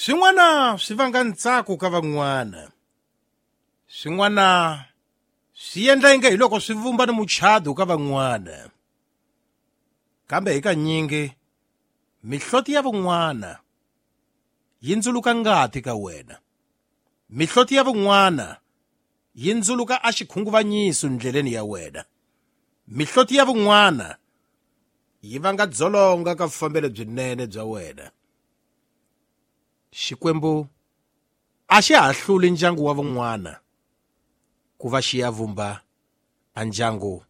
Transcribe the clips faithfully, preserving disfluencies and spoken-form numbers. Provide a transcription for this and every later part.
Swin'wana swi vanga ntsako ka van'wana, swin'wana swi endla inge hi loko swi vumba ni muchado ka van'wana, kambe hikanyingi mihloti ya van'wana yi ndzuluka ngati ka wena, mihloti ya van'wana yi ndzuluka a xikhunguvanyiso ndleleni ya wena, mihloti ya van'wana yi vanga dzolonga ka vufambelo byinene bya wena. Xikwembu a xi hahluli ndyangu wa van'wana ku va xi ya vumba a ndyangu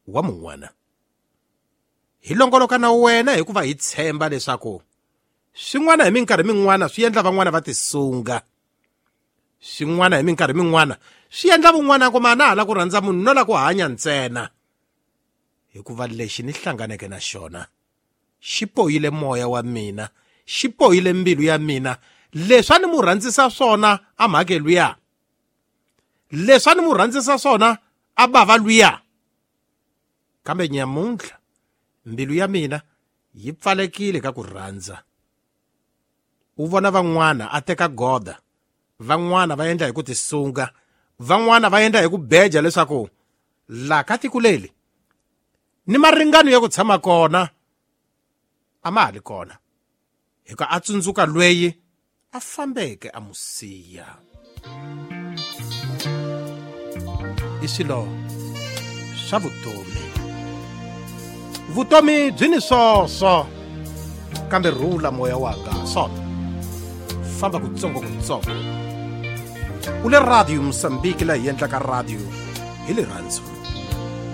wa mun'wana. Hi longoloka na wena hikuva hi tshemba leswaku swin'wana hi minkarhi min'wana swi endla van'wana va tisunga, swin'wana hi minkarhi min'wana swi endla van'wana ku mana hala ku rhandza munhu no la ku hanya ntsena, hikuva lexi ni hlanganeke na xona xi poyile moya wa mina, xi poyile mbilu ya mina. Leswi a ni mu rhandzisa swona a mhake luya, leswi a ni mu rhandzisa swona a bava luya, kambe nyamuntlha mbilu ya mina yi pfalekile ka ku rhandza. U vona van'wana a teka goda, van'wana va endla hi ku tisunga, van'wana va endla hi ku beja leswaku la ka tiko leli ni maringano ya ku tshama kona a ma ha li kona, hikuva a tsundzuka lweyi a fambeke a mu siya. I swilo swa vutomi. Vutomi byi ni swoswo, kambe rhula moya wanga swona, famba kutsongo kutsongo. U le Radio Mozambique, laha hi endlaka radio hi rirhandzu.